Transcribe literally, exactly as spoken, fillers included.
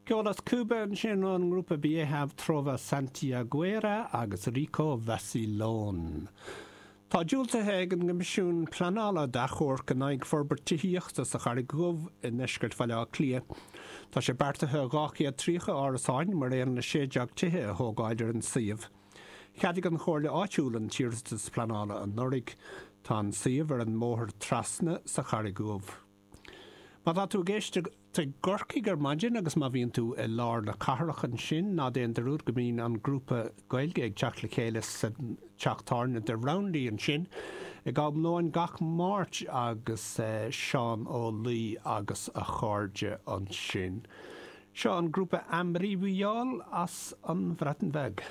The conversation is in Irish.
Ceol as Cúba ansin ón ngrúpa Vieja Trova Santiaguera agus Rico Vacilón. Tá diúltaithe ag an gCoimisiún Pleanála d'achomharc in aghaidh forbairt tithíochta sa Charraig Dhubh i ndeisceart Bhaile Átha Cliath. Tá sé beartaithe dhá chéad tríocha árasáin mar aon le sé déag tithe a thógáil ar an suíomh. Cheadaigh an Chomhairle Áitiúil an t-iarratas pleanála anuraidh. Tá an suíomh ar an mBóthar Trasna sa Charraig Dhubh. Má tá tú ag éisteacht i gCorcaigh ar maidin agus má bhíonn tú i lár na cathrach ansin, ná déan dearúd go mbíonn an grúpa Gaeilge ag teacht le chéile sa teach tábhairne The Roundy ansin ag am lóin gach Máirt agus Seán Ó Laoi agus a chairde ansin. Seo an grúpa Amrywiol as an Bhreatain Bheag.